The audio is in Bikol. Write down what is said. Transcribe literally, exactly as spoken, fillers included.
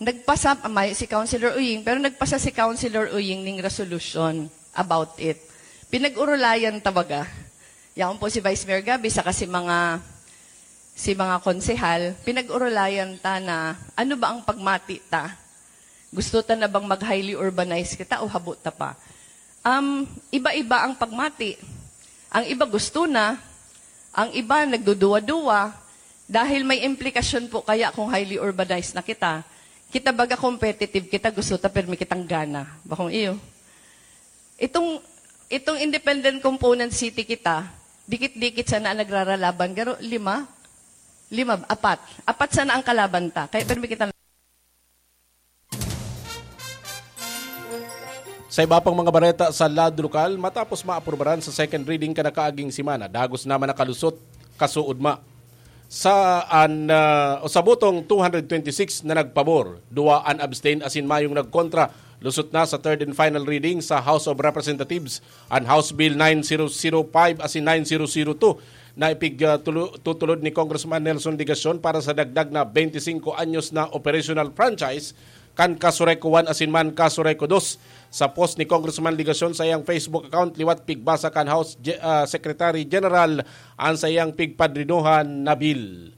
Nagpasa, mayo si Councilor Uying, pero nagpasa si Councilor Uying ning resolution about it. Pinag-urulayan ta baga. Yaon po si Vice Mayor Gabby, saka si mga, si mga konsehal, pinag-urulayan ta na ano ba ang pagmati ta? Gusto ta na bang mag-highly urbanized kita o habo ta pa? Um, iba-iba ang pagmati. Ang iba gusto na, ang iba nagduduwa-duwa, dahil may implikasyon po kaya kung highly urbanized na kita. Kita baga competitive kita, gusto ta, pero may kitang gana. Bakong iyo. Itong, itong independent component city kita, dikit-dikit sana ang nagraralaban. Garo, lima? Lima, apat. Apat sana ang kalaban ta. Kaya pero may kita Sa iba pang mga bareta sa lado lokal, matapos maaprubaran sa second reading kanakaaging semana, dagos naman nakalusot kasuodma. Sa an, ah, o sa botong two hundred twenty-six na nagpabor, duwa an abstain asin mayong nagkontra, lusot na sa third and final reading sa House of Representatives an House Bill nine zero zero five asin nine zero zero two na ipig, ah, tulo-, tutulod ni Congressman Nelson Legacion para sa dagdag na twenty-cinco anyos na operational franchise kan Casureco one asin man Casureco dos. Sa post ni Congressman Legacion sa iyang Facebook account, liwat pigbasa kan House Ge-, ah, Secretary General an sa iyang pigpadrinohan na bill.